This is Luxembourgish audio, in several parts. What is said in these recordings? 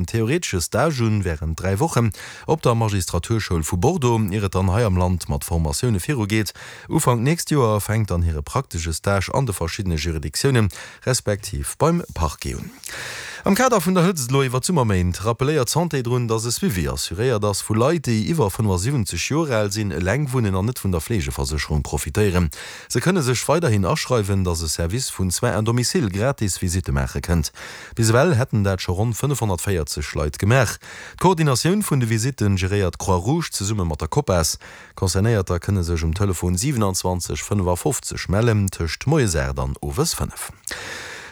Theoretesche Stage un wärend 3 Wochen op der Magistraturschoul vu Bordeaux, ier et dann hei am Land mat Formatioune viru geet. Ufank nächst Joer fänkt dann hire praktesche Stage an de verschiddene Juridictiounen, respektiv beim Parquet un. Am Kader vun der Hëtzt elo iwwer d'Summerméint rappelléiert d'Santé drun, dass e Suivi assuréiert ass vu Leit, déi iwwer 75 Joer al sinn, eleng wunnen an net vun der Fleegeversécherung profitéieren. Se kënne sech weiderhin aschreiwen, dass e Service vun Soins à domicile gratis Visitte maache kënnt. Bis ewell hätten dat scho ronn 540 Leit gemaach. D'Koordinatioun vun de Visitte geréiert d'Croix Rouge zesumme mat der Copas. Concernéierter kënne sech um Telefon 27 55 mellen, tëscht moies 8 an owes 5.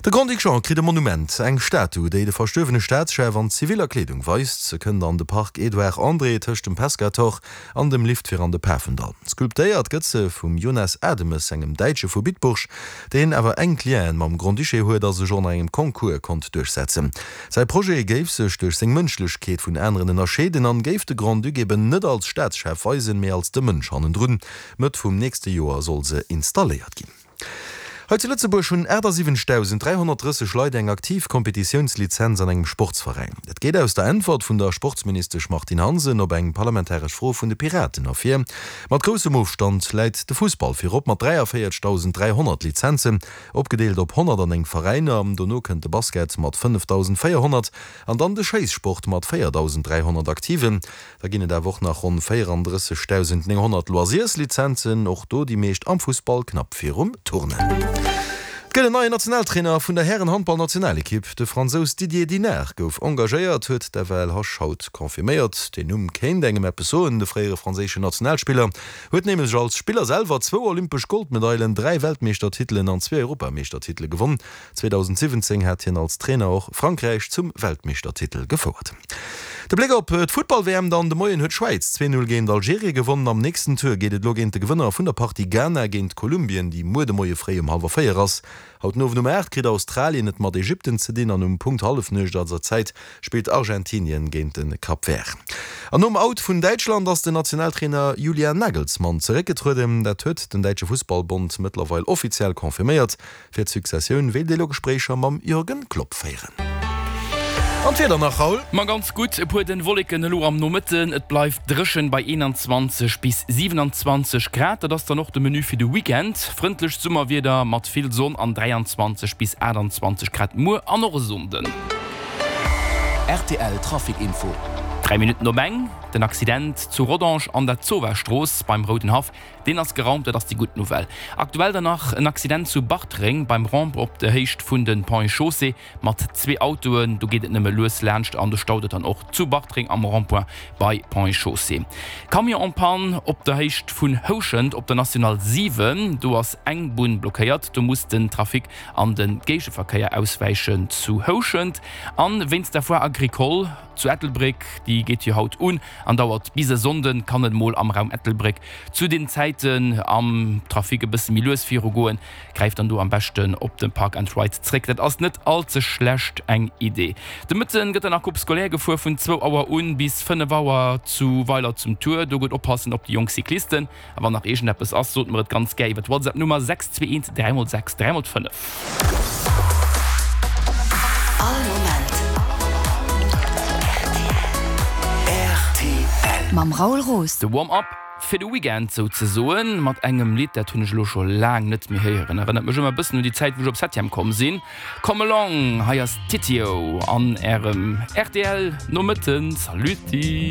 De Grand-Duc Jean kritt e Monument, eng Statu, déi de verstuerwene Staatschef an ziviller Kleedung weist. Se kënnt an de Parc Edouard André tëscht dem Pescator an dem Lift fir an de Pafendall. Sculptéiert gëtt se vum Jonas Ademes, engem Däitsche vu Bitburg, deen awer enk Lienen mam Grand-Duché huet a sech och nach engem Concours konnt duerchsetzen. Säi Projet géif sech duerch seng Mënschlechkeet vun aneren ënnerscheeden an géif de Grand-Duc eben net als Staatschef weisen, mee als de Mënsch hannendrun. Mëtt vum nächste Joer soll se installéiert ginn. Hei zu Lëtzebuerg hunn 78.330 Leit eng aktiv Kompetitiounslizenz an engem Sportsveräin. Dat geet aus der Äntwert vun der Sportsministesch Martine Hansen op eng parlamentaresch Fro vun de Piraten ervir. Mat groussem Ofstand läit de Fussball virop mat 43.300 Lizenzen, opgedeelt op 109 Veräiner. Dono kënnt de Basket mat 5.400 an dann de Schéissport mat 4.300 Aktiven. Da ginn et awer och nach ronn 34.900 Loisirslizenzen, och do déi meescht am Fussball, knapp virum Turnen. Et gëtt en neien Nationaltrainer vun der Hären-Handball-Nationalekipp. De Fransous Didier Dinart gouf engagéiert, huet d'FLH haut confirméiert. Deen Numm kéint engem eppes soen, de fréiere franséischen Nationalspiller huet nämlech als Spiller selwer zwou olympesch Goldmedailen, 3 Weltmeeschtertitelen an zwee Europameeschtertitele gewonn. 2017 hat hien als Trainer och Frankräich zum Weltmeeschtertitel gefouert. De Bléck op d'Futtball-WM dann, De Moien huet d'Schwäiz 2, 0 géint Algerien gewonnen. Am nächsten Tour geet et elo géint de Gewënner vun der Partie Ghana géint Kolumbien, déi muer de Moie fréi um hallwer 4 ass. Haut den Owend um 8 kritt Australien et mat Ägypten ze dinn an um Punkt Hallefnuecht eiser Zäit spillt Argentinien géint de Cap Vert. An nom Out vun Däitschland ass den Nationaltrainer Julian Nagelsmann zeréckgetrueden. Dat huet den däitsche Fussballbond mëttlerweil offiziell confirméiert. Fir d'Successioun wéilt ee lo Gespréicher mam Jürgen Klopp féieren. An d'Wieder nach, Raoul? Ma ganz gutt, e puer dënn Wolleken elo am Nomëtten, et bleift dréchen bei 21 bis 27 Grad. Dat ass dann och de Menu fir de Weekend, frëndlecht Summerwieder mat vill Sonn an 23 bis 28 Grad muer an och e Sonnden. Rtl Trafic Info. 3 Minutten op eng, Den Accident zu Rodange an der Zowa-Strooss beim Roudenhaff Deen ass geraumt, dat ass déi gutt Nouvelle. Aktuell dann nach en Accident zu Bartreng beim Ramp op der Héicht vun de Ponts et Chaussées mat zwee Autoen. Do geet et nëmme lues laanscht an do staut et dann och zu Bartreng am Rond-point bei Ponts et Chaussées. Camion en panne op der Héicht vun Houschent op der National 7. Do ass eng Bunn blockéiert, do muss den Trafic an de Géigeverkéier auswäichen zu Houschent. An wéinst der Foire Agricole zu Ettelbréck, déi geet jo haut un an dauert bis e Sonnden, kann et mol am Raum Ettelbréck zu den Zäiten am Trafic e bësse méi lues viru goen. Gräift dann do am beschten op de Park and Ride zréck, dat ass net all ze schlecht eng Idee. De Mëtten gëtt dann nach Coupe scolaire gefuer vun zwou Auer un bis 5 Auer zu Weiler zum Tour. Do gutt oppassen op déi jonk Cyclisten. A wann nach iergendeppes ass, sot mer et ganz gär iwwer d'WhatsApp Nummer 621 3 x 6 3 x 5. All Moment rtl. Mam Raoul Roos. De Warm-up fir de Weekend souzesoen, mat engem Lidd, dat hunn ech elo scho laang net méi héieren. Erënnert mech ëmmer e bëssen un déi Zäit, wou ech op Septième komm sinn. Come along, hei ass Titiou an ärem rtl Nomëtten. Saluti!